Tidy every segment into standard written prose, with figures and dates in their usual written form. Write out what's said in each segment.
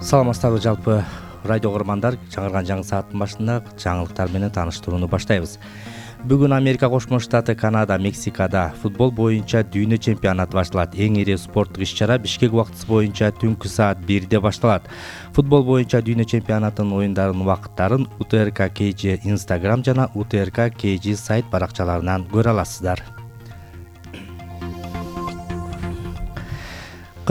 Саламатсыздарбы жалпы радио көрөрмандар, жаңырган жаңы сааттын башында жаңылыктар менен тааныштырууну баштайбыз. Бүгүн Америка Кошмо Штаты, Канада, Мексикада футбол боюнча дүйнө чемпионаты башталат. Эң ири спорттук иш-чара Бишкек убактысы боюнча түнкү саат 1-де башталат. Футбол боюнча дүйнө чемпионатынын оюндарынын убакыттарын УТРК KG Instagram жана УТРК KG сайт баракчаларынан көрө аласыздар.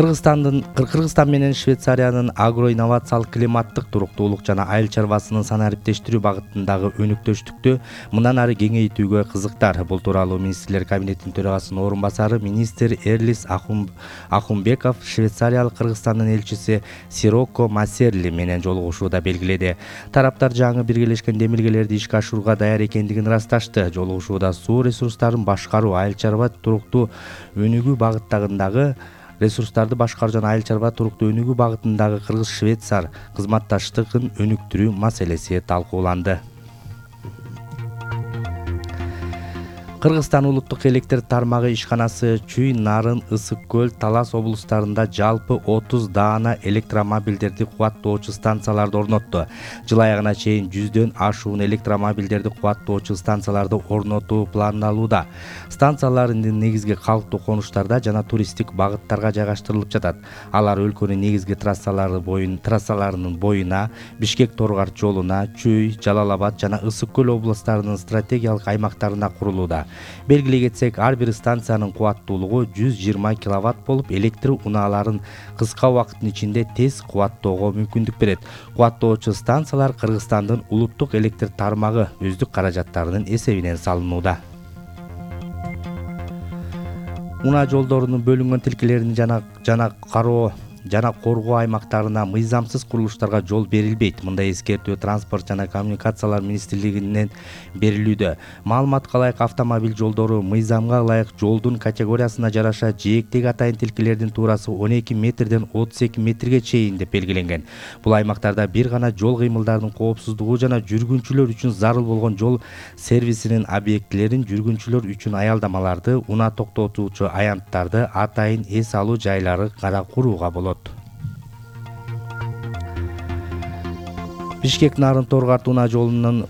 Кыргызстан менен Швейцариянын агроинновациялык климаттык туруктуулук жана айыл чарбасынын санариптештирүү багытындагы өнүктөштүктү мындан ары кеңейтүүгө кызыктар. Бул тууралуу министрлер кабинетинин төрагасынын орун басары министр Эрлис Ахунбеков Швейцариялык Кыргызстандын элчиси Сироко Масерли менен жолугушууда белгиледи. Тараптар жаңы биргелешкен демилгелерди ишке ашырууга даяр экендигин ырасташты. Жолугушууда суу ресурстарын башкаруу, айыл чарба туруктуу өнүгүү багытындагы ресурстарды башкаруу жана айыл чарба туруктуу өнүгүү багытындагы Кыргыз-Швейцар кызматташтыгын өнүктүрүү маселеси талкууланды. Кыргызстан улуттук электр тармагы ишканасы Чүй, Нарын, Ысык көл, Талас облустарында жалпы 30 даана электромобилдерди кубаттоочу станцияларды орнотту. Жыл аягына чейин 100дөн ашуун электромобилдерди кубаттоочу станцияларды орнотуу пландалууда. Станциялар негизги калктуу конуштарда жана туристтик багыттарга жайгаштырылып жатат. Алар өлкөнүн негизги трассаларынын боюна, Бишкек-Торгар жолуна, Чүй, Жалал-Абад жана Ысык көл облустарынын стратегиялык аймактарына курулууда. Белгилей кетсек, ар бир станциянын кубаттуулугу 120 киловатт болуп, электр унааларын кыска убакыттын ичинде тез кубаттоого мүмкүндүк берет. Кубаттоочу станциялар Кыргызстандын улуттук электр тармагы өздүк каражаттарынын эсебинен салынууда. Унаа жолдорунун бөлүнгөн тилкелеринин жана коргоо аймактарына мыйзамсыз курулуштарга жол берилбейт. Мындай эскертүү Транспорт жана коммуникациялар министрлигинен берилүүдө. Маалыматка ылайык, автомобиль жолдору мыйзамга ылайык жолдун категориясына жараша жээктеги атайын тилкелердин туурасы 12 метрден 32 метрге чейин деп белгиленген. Бул аймактарда бир гана жол кыймылдарынын коопсуздугу жана жүргүнчүлөр үчүн зарыл болгон жол сервисинин объектилерин, жүргүнчүлөр үчүн аялдамаларды, унаа токтотуучу аянттарды, атайын эс алуу жайлары кара курууга болот. Бишкек-Нарын Торгар унаа жолунун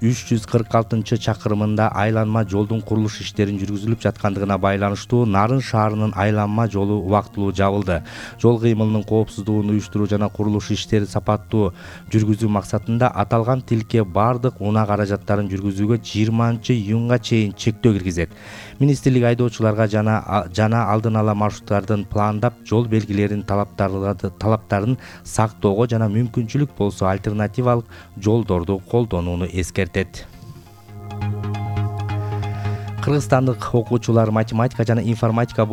346-чакырымында айланма жолдун курулуш иштерин жүргүзүлүп жаткандыгына байланыштуу Нарын шаарынын айланма жолу убактылуу жабылды. Жол кыймылынын коопсуздугун уюштуруу жана курулуш иштери сапаттуу жүргүзүү максатында аталган тилке бардык унаа каражаттарын жүргүзүүгө 20-июнга чейин чектөө киргизет. Министрлик айдоочуларга жана алдын ала маршруттардын пландап, жол белгилеринин талаптарын сактоого жана мүмкүнчүлүк болсо альтернативалык жолдорду колдонууну эскертет. Кыргызстандык окуучулар математика жана информатика